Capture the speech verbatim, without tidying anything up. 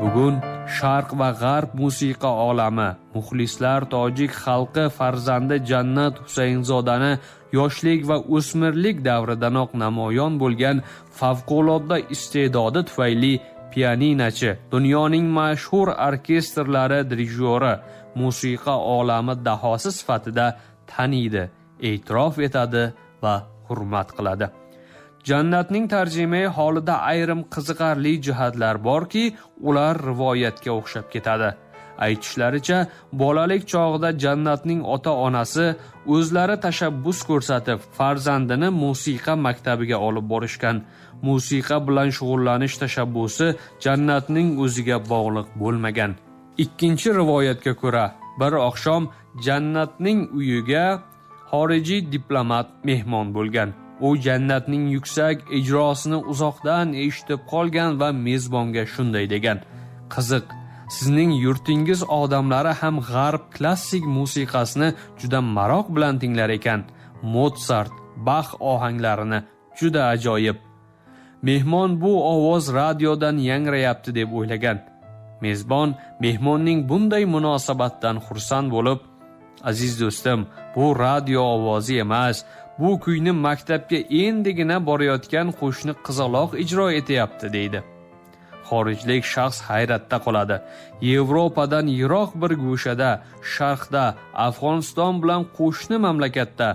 Bugun Sharq va G'arb musiqa olami, muxlislar tojik xalqi farzandi Jannat Husaynzodani yoshlik va o'smirlik davridanoq namoyon bo'lgan favqulodda iste'dodi tufayli pianinochi, dunyoning mashhur orkestrlari dirijyori, musiqa olami dahosi sifatida taniydi, e'tirof etadi va hurmat qiladi. Jannatning tarjimai holida ayrim qiziqarli jihatlar borki, ular rivoyatga o'xshab ketadi. Aytishlaricha, bolalik chog'ida Jannatning ota-onasi o'zlari tashabbus ko'rsatib, farzandini musiqa maktabiga olib borishgan. Musiqa bilan shug'ullanish tashabbusi Jannatning o'ziga bog'liq bo'lmagan. Ikkinchi rivoyatga ko'ra, bir oqshom Jannatning uyiga xorijiy diplomat mehmon bo'lgan. U Jannatning yuksak ijrosini uzoqdan eshitib qolgan va mezbonga shunday degan: "Qiziq, sizning yurtingiz odamlari ham g'arb klassik musiqasini juda maroq bilan tinglar ekan. Motsart, Bax ohanglarini juda ajoyib." Mehmon bu ovoz radiodan yangrayapti deb o'ylagan. Mezbon mehmonning bunday munosabatdan xursand bo'lib, "Aziz do'stim, bu radio ovozi emas, bu kuyni maktabga endigina borayotgan qo'shni qizaloq ijro etyapti", deydi. Xorijlik shaxs hayratda qoladi. Yevropadan yiroq bir go'shada, sharqda, Afg'oniston bilan qo'shni mamlakatda